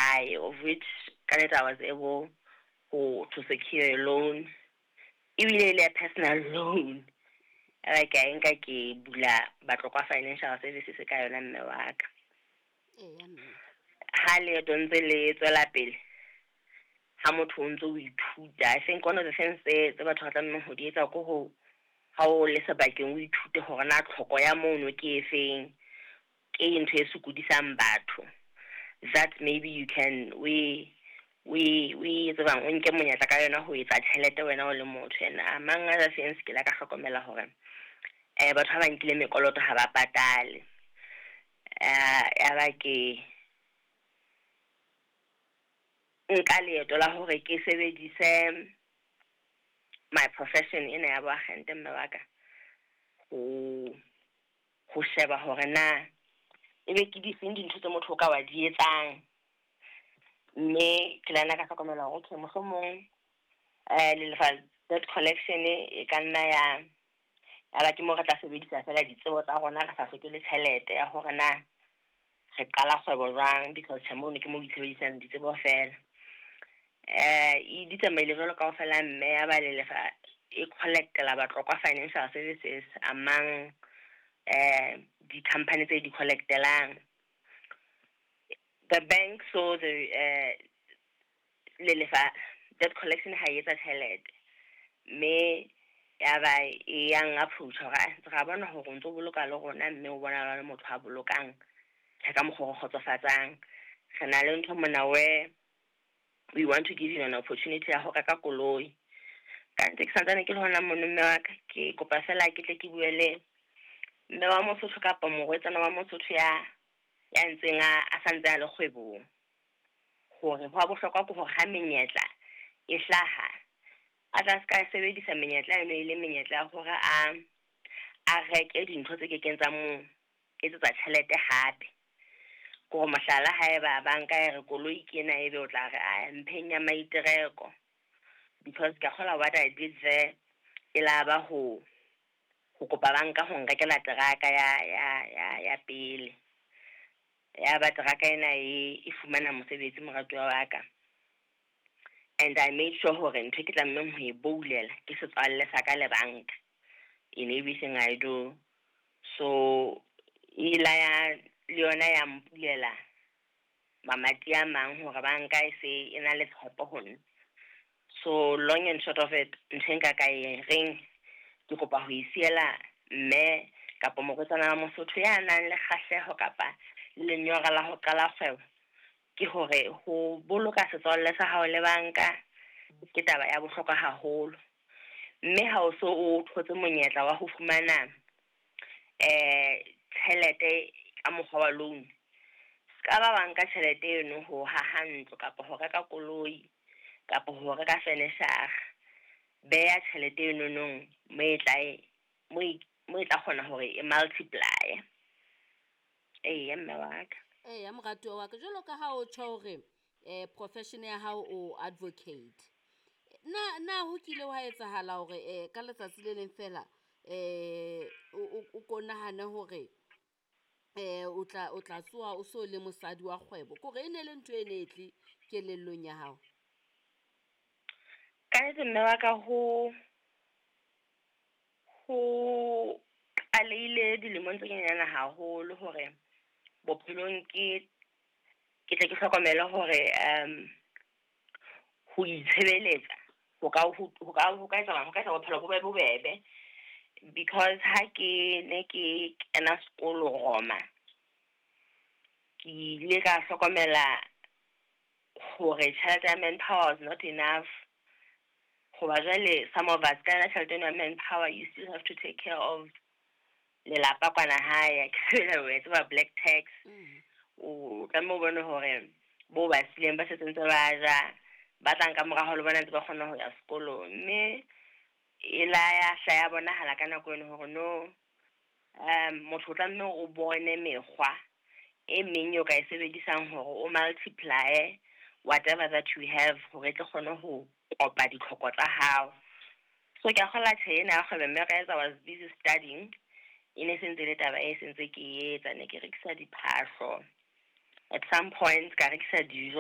lehae, of which ka nnete I was able to secure a loan, ebile e le ya personal loan. Ebe ke a e nka, ke bula Batlokwa Financial Services ka yona, mme wa ka. Eya mme. Ha leeto ntse le tswela pele, ha motho o ntso o ithuta, I think one of the things tse batho ba tlamehang ho di etsa ko ho ha o le sebakeng, o ithute hore na tlhoko ya mono ke efeng, ke ntho e sokodisang batho, that maybe you can we tsebang, o nke monyetla ka yona ho etsa tjhelete wena o le motho. And among other things, ke la ka hlokomela hore batho ba nkile mekoloto ha ba patale. Ya ba ke nka leeto la hore ke sebedise my profession ena ya boagente, mme wa ka, ho sheba hore na ebe ke difeng dintho tse motho o ka wa di etsang. Mme ke la nna ka hlokomela hore okay, mohlomong Lelefa Debt Collection e ka nna ya ba ke mo re tla sebedisa fela ditsebo tsa rona, re sa hloke le tjhelete ya hore na re qala kgwebo jwang, because tjhe, mono ke mo itshebedisang ditsebo fela. E di tsamaile jwalo kaofela, mme ya ba Lelefa e collectela Batlokwa Financial Services among di-company tse di collectelang. The bank saw the Lelefa Debt Collection ha e etsa tjhelete, mme ya ba e yang approach hore ra bona hore o ntso boloka le rona, mme o bona le motho a bolokang tjhe ka mokgwa o kgotsofatsang. Re na le ntho mona where we want to give you an opportunity ya ho reka koloi. Ka ntse ke santsane ke le hona mono, mme wa ka, ke kopa fela ke tle ke bue le mme wa Mosotho kapa morwetsana wa Mosotho ya ntseng a santse a le kgwebong, hore ho wa bohlokwa ke hore ha menyetla e hlaha, a tla ska sebedisa menyetla eno e le menyetla ya hore a reke dintho tse kekeng tsa mo etsetsa tjhelete hape. Kore mohlala, haeba banka e re koloi ke ena, ebe o tla re a mpheng ya maitereko, because ke kgola what I did there e la ba ho kopa banka ho nrekela teraka ya pele. Ya ba teraka ena e fumana mosebetsi, moratuwa wa ka, and I made sure hore ntho e ke tlamehang ho e boulela ke setswalle sa ka le banka in everything I do. So e la ya le yona ya mpulela mamati a mang hore banka e se e na le tshepo ho nna. So long and short of it, ntho e nka ka e reng ke kopa ho e siela mme kapa morwetsana wa Mosotho ya nang le kgahleho kapa le lenyora la ho qala kgwebo ke hore ho boloka setswalle sa hao le banka ke taba ya bohlokwa haholo. Mme ha o so o thotse monyetla wa ho fumana tjhelete ka mokgwa wa loan, ska ba wa nka tjhelete eno ho haha ntlo kapa ho reka koloi kapa ho reka furniture. Beha tjhelete eno nong mo e tla mo e tla kgona hore e multiply. Eya, mme wa ka. Eya, moratuwa wa ka, jwalo ka ha o tjho hore profession ya hao o advocate, na ho kile wa etsahala hore ka letsatsi le leng fela o ko nahane hore o tla tsoha o so le mosadi wa kgwebo, kore e ne le ntho e ne e tle kelellong ya hao? Ka nnete, mme wa ka, ho qalehile dilemong tse nyenyane haholo hore bophelong ke tle ke hlokomele hore ho itshebeletsa ho ka etsa bophelo bo be bobebe, because ha ke ne ke kena sekolo Roma, ke ile ka hlokomela hore tjhelete ya manpower was not enough, hoba jwale some of us ka yona tjhelete eno ya manpower, you still have to take care of lelapa kwana hae, ke o tseba black tax. O tlameha o bone hore bo ba sileng ba setse ntse ba ja, ba tlang ka morao le bona ntse ba kgona ho ya sekolong. Mme e la ya hla ya bonahala ka nako eno hore no, motho o tlameha o bone mekgwa e meng eo ka e sebedisang hore o multiply whatever that you have, hore e tle kgone ho kopa ditlhoko tsa hao. So ke a kgola tjhe ena ya kgwebo, mme ka etsa was busy studying, e ne sentse le taba e sentse ke etsa, ne ke rekisa diphahlo, at some point ka rekisa dijo.